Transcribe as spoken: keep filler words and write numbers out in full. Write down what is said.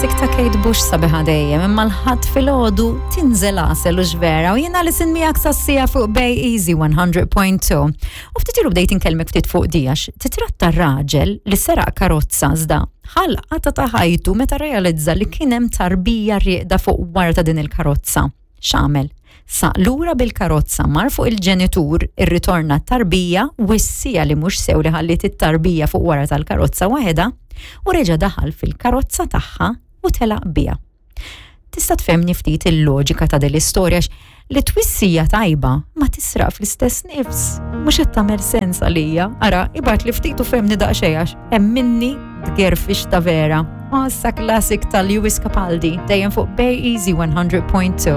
Classic ta' Kate Bush sabiħa dejjem, imma l-Ħadd filgħodu tinżel għasel u vera u jiena li sin miegħek sassija fuq Bay Easy one hundred point two. U ftit ilu bdejt inkellmek ftit fuq dijax, titratta raġel li seraq karozza iżda ħalqa ta' ħajtu meta realizza li kien hemm tarbija rieqda fuq wara ta' din il-karozza. X'għamel? Saq lura bil-karozza, mar fuq il-ġenitur, irritorna t-tarbija, wissija li mhux sew li ħalliet it-tarbija fuq wara tal-karozza waħedha, u reġa' daħal fil-karozza tagħha u telaq biha. Tista' tfehmni ftit il-loġika ta' din l-istorja li twissija tajba ma tisraq fl-istess nifs? Mhux qed tagħmel sens għalija. Ara, ibgħat li ftit u fehmni daqsxejn għax hemm minni tgerfix ta' vera. Issa classic ta' Lewis Capaldi dejjem fuq Bay Easy one hundred point two.